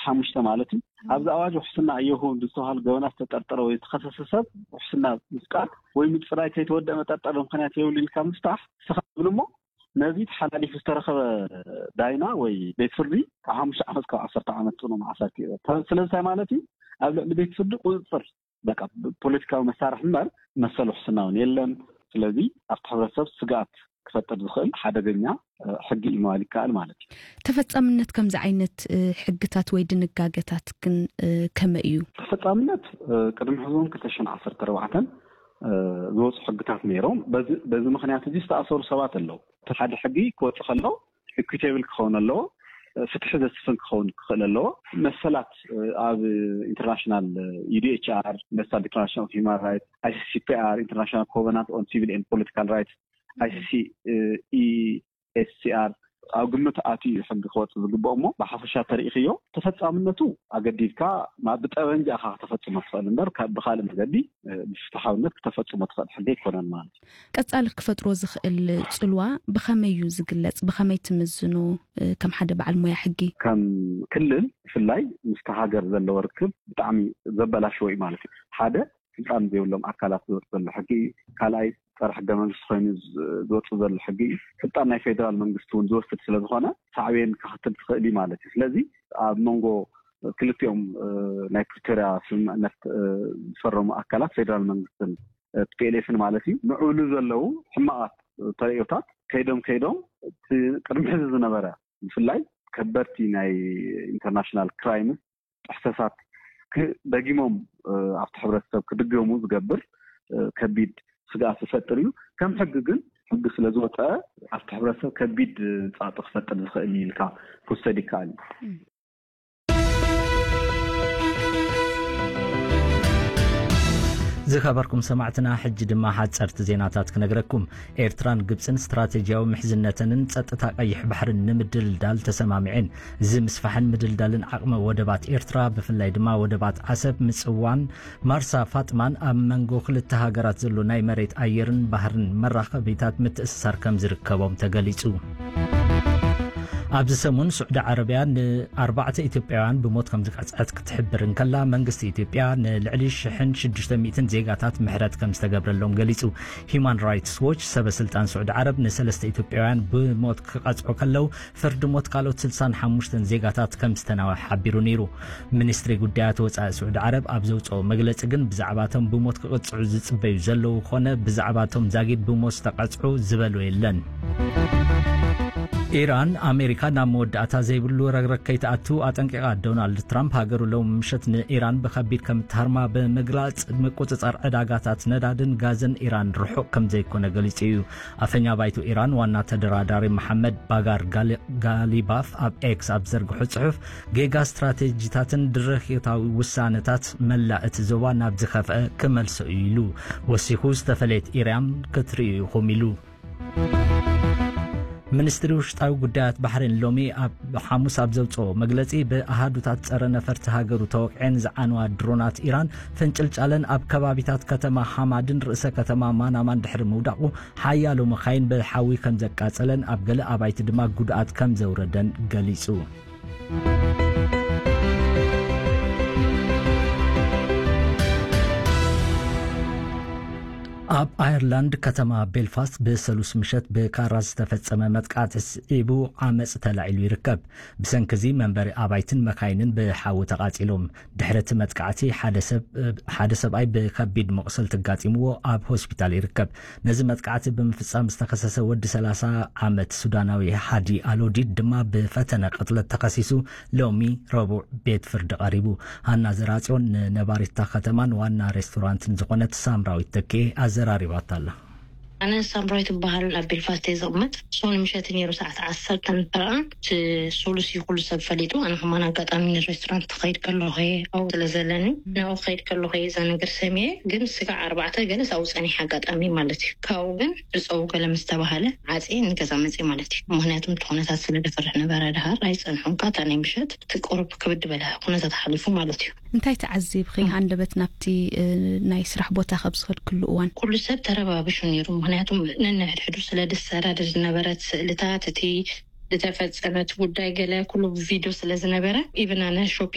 ሓሙሽተ ማለት እዩ። ኣብዚ ኣዋጅ ውሕስና እየኹ ብዝተባሃሉ ገበናት ዝተጠርጠረ ወይ ዝተኸሰሰ ሰብ ውሕስና ምፍቃድ ወይ ምጽራይ ከይተወደአ መጠርጠሪ ምኽንያት የብሉ ኢልካ ምፍታሕ፣ ንስኻ ትብል እሞ ነዚ ተሓላሊፉ ዝተረኸበ ዳይና ወይ ቤት ፍርዲ ካብ ሓሙሽተ ዓመት ካብ ዓሰርተ ዓመት ጽኑ ማእሰርቲ ይቕጽዕ። ስለዚ እንታይ ማለት እዩ? ኣብ ልዕሊ ቤት ፍርዲ ቁጽጽር፣ በቃ፣ ፖለቲካዊ መሳርሒ እምበር መሰል ውሕስና እውን የለን። ስለዚ ኣብቲ ሕብረተሰብ ስግኣት ክፈጥር ዝኽእል ሓደገኛ ሕጊ እዩ ምባል ይከኣል ማለት እዩ። ተፈጻምነት ከምዚ ዓይነት ሕግታት ወይ ድንጋገታት ግን ከመይ እዩ? ተፈጻምነት ቅድሚ ሕዚ እውን ክልተ ሽሕን ዓሰርተ ኣርባዕተን ዝወፁ ሕግታት ነይሮም። በዚ ምክንያት እዚ ዝተኣሰሩ ሰባት ኣለዉ። ሓደ ሕጊ ክወፅ ከሎ ኢኩቴብል ክኸውን ኣለዎ። ፍትሒ ዘስፍን ክኸውን ክኽእል ኣለዎ። መሰላት ኣብ ኢንተርናሽናል ዩ ዲ ኤች ኣር፣ ዩኒቨርሳል ዲክላሬሽን ኦፍ ሂማን ራይትስ፣ ኣይ ሲ ሲ ፒ ኣር፣ ኢንተርናሽናል ኮቨናንት ኦን ሲቪል ኤንድ ፖለቲካል ራይትስ፣ ኣይ ሲ ሲ ኢ ኤስ ሲ ኣር ኣብ ግምት ኣትዩ እዩ ሕጊ ክወፅእ ዝግብኦ። እሞ ብሓፈሻ ተሪኢኽዮ ተፈፃምነቱ ኣገዲድካ ብጠበንጃ ኢኻ ክተፈፅሞ ትኽእል እምበር ብካልእ መገዲ ብፍትሓውነት ክተፈፅሞ ትኽእል ሕጊ ኣይኮነን ማለት እዩ። ቀፃሊ ክፈጥሮ ዝኽእል ፅልዋ ብኸመይ እዩ ዝግለፅ? ብኸመይ ትምዝኖ? ከም ሓደ በዓል ሞያ ሕጊ ከም ክልል ብፍላይ ምስቲ ሃገር ዘለዎ ርክብ ብጣዕሚ ዘበላሽዎ እዩ ማለት እዩ። ሓደ ስልጣን ዘይብሎም ኣካላት ዝወፅእ ዘሎ ሕጊ እዩ። ካልኣይ ፀረ ሕገ መንግስቲ ኮይኑ ዝወፅእ ዘሎ ሕጊ እዩ። ስልጣን ናይ ፌደራል መንግስቲ እውን ዝወስድ ስለዝኾነ ሳዕቤን ከኽትል ትኽእል እዩ ማለት እዩ። ስለዚ ኣብ መንጎ ክልቲኦም ናይ ፕሪቶርያ ስምምዕነት ዝፈረሙ ኣካላት ፌደራል መንግስትን ቲ ፒ ኤል ኤፍን ማለት እዩ ምዕብሉ ዘለዉ ሕማቓት ተርእዮታት ከይዶም ከይዶም እቲ ቅድሚ ሕዚ ዝነበረ ብፍላይ ከበድቲ ናይ ኢንተርናሽናል ክራይምስ ጥሕሰታት ደጊሞም ኣብቲ ሕብረተሰብ ክድገሙ ዝገብር ከቢድ ስግኣት ዝፈጥር እዩ። ከም ሕጊ ግን ሕጊ ስለዝወፀ ኣብቲ ሕብረተሰብ ከቢድ ፃዕቂ ክፈጥር ዝኽእል እዩ ኢልካ ክውሰድ ይከኣል እዩ። ዝኸበርኩም ሰማዕትና፣ ሕጂ ድማ ሓጸርቲ ዜናታት ክነግረኩም። ኤርትራን ግብጽን ስትራቴጂያዊ ምሕዝነተንን ጸጥታ ቀይሕ ባሕርን ንምድልዳል ተሰማሚዐን። እዚ ምስፋሕን ምድልዳልን ዓቕሚ ወደባት ኤርትራ፣ ብፍላይ ድማ ወደባት ዓሰብ፣ ምጽዋን ማርሳ ፋጥማን ኣብ መንጎ ክልተ ሃገራት ዘሎ ናይ መሬት ኣየርን ባህርን መራኸቢታት ምትእስሳር ከም ዝርከቦም ተገሊጹ። ኣብዚ ሰሙን ስዑዲ ዓረብያ ንኣርባዕተ ኢትዮጵያውያን ብሞት ከም ዝቀጽዐት ክትሕብር እንከላ፣ መንግስቲ ኢትዮጵያ ንልዕሊ ሽሕን ሽዱሽተ ሚእትን ዜጋታት ምሕረት ከም ዝተገብረሎም ገሊጹ። ሂዩማን ራይትስ ዎች ሰበ ስልጣን ስዑዲ ዓረብ ንሰለስተ ኢትዮጵያውያን ብሞት ክቐጽዑ ከለው፣ ፍርዲ ሞት ካልኦት ስልሳን ሓሙሽተን ዜጋታት ከም ዝተናወሐ ሓቢሩ ነይሩ። ሚኒስትሪ ጉዳያት ወጻኢ ስዑዲ ዓረብ ኣብ ዘውጽኦ መግለጺ ግን፣ ብዛዕባ እቶም ብሞት ክቕጽዑ ዝጽበዩ ዘለዉ ኮነ ብዛዕባ እቶም ዛጊድ ብሞት ዝተቐጽዑ ዝበሎ የለን። ኢራን፣ ኣሜሪካ ናብ መወዳእታ ዘይብሉ ረግረግ ከይትኣቱ ኣጠንቂቓ። ዶናልድ ትራምፕ ሃገሩ ሎሚ ምሸት ንኢራን ብኸቢድ ከም እትሃርማ ብምግላጽ፣ ምቁጽጻር ዕዳጋታት ነዳድን ጋዝን ኢራን ርሑቕ ከም ዘይኮነ ገሊጹ እዩ። ኣፈኛ ባይቶ ኢራን ዋና ተደራዳሪ መሓመድ ባጋር ጋሊ-፣ ጋሊባፍ ኣብ ኤክስ ኣብ ዘርግሖ ጽሑፍ፣ ጌጋ ስትራቴጂታትን ድርኺታዊ ውሳነታት መላእ እቲ ዞባ ናብ ዝኸፍአ ክመልሶ እዩ ኢሉ። ወሲኹ፣ ዝተፈለየት ኢራን ክትርእዩ ኢኹም ኢሉ። ሚኒስትሪ ውሽጣዊ ጉዳያት ባሕሬን ሎሚ ኣብ ሓሙስ ኣብ ዘውፅኦ መግለፂ፣ ብኣሃዱታት ፀረ ነፈርቲ ሃገሩ ተወቂዐን ዝዓነዋ ድሮናት ኢራን ፍንጭልጫለን ኣብ ከባቢታት ከተማ ሓማድን ርእሰ ከተማ ማናማን ድሕሪ ምውዳቑ፣ ሓያሎ መኻይን ብሓዊ ከም ዘቃጸለን ኣብ ገለ ኣባይቲ ድማ ጉድኣት ከም ዘውረደን ገሊጹ። ኣብ ኣየርላንድ ከተማ ቤልፋስት ብሰሉስ ምሸት ብካራ ዝተፈጸመ መጥቃዕቲ ስዒቡ ዓመጽ ተላዒሉ ይርከብ። ብሰንኪ እዚ መንበሪ ኣባይትን መካይንን ብሓዊ ተቓጺሎም። ድሕሪ እቲ መጥቃዕቲ ሓደ ሰብ፣ ሓደ ሰብኣይ ብከቢድ መቑሰልቲ ኣጋጢምዎ ኣብ ሆስፒታል ይርከብ። ነዚ መጥቃዕቲ ብምፍጻም ዝተኸሰሰ ወዲ ሰላሳ ዓመት ሱዳናዊ ሃዲ ኣሎዲድ ድማ ብፈተነ ቅትለት ተኸሲሱ ሎሚ ረቡዕ ቤት ፍርዲ ቀሪቡ። ሃና ዘራጽዮን ንነባሪት እታ ከተማን ዋና ሬስቶራንትን ዝኾነት ሳምራዊት ተኬ ኣዘራሪባታ ኣላ። ኣነ ሳምራዊት እበሃል፣ ኣብ ቤልፋስት እየ ዝቕመጥ። ሶኒ ምሸት ነይሩ፣ ሰዓት ዓሰርተ ንፈረቓ፣ እቲ ሶሉስ እዩ ኩሉ ሰብ ፈሊጡ። ኣነ ከማን ኣጋጣሚ ንሬስቶራንት ክኸይድ ከለኹ እየ ኣብኡ ስለ ዘለኒ፣ ናብኡ ክኸይድ ከለኹ እየ እዛ ነገር ሰሚዐ። ግን ስጋዕ ኣርባዕተ ገለስ ኣብኡ ጸኒሐ ኣጋጣሚ ማለት እዩ። ካብኡ ግን ብጸው ገለ ምስ ተባሃለ ዓጽየ ንገዛ መጽየ ማለት እዩ። ምኽንያቱ እቲ ኩነታት ስለ ደፈርሕ ነበረ። ድሃር ኣይጸንሖን፣ ካታ ናይ ምሸት እቲ ቁሩብ ክብድ በለ ኩነታት ሓሊፉ ማለት እዩ። እንታይ ተዓዚብኺ? ሃንደበት ናብቲ፣ እ፣ ናይ ስራሕ ቦታ ካብ ዝኸድክሉ እዋን? ኩሉ ሰብ ተረባቢሹ ነይሩ። ምኽንያቱ ነንሕድሕዱ ስለ ዝሰዳደድ ዝነበረ፣ እቲ ስእልታት፣ እቲ ዝተፈጸመ እቲ ጉዳይ ገለ ኩሉ ብቪድዮ ስለ ዝነበረ፣ ኢቭን ኣነ ሾክ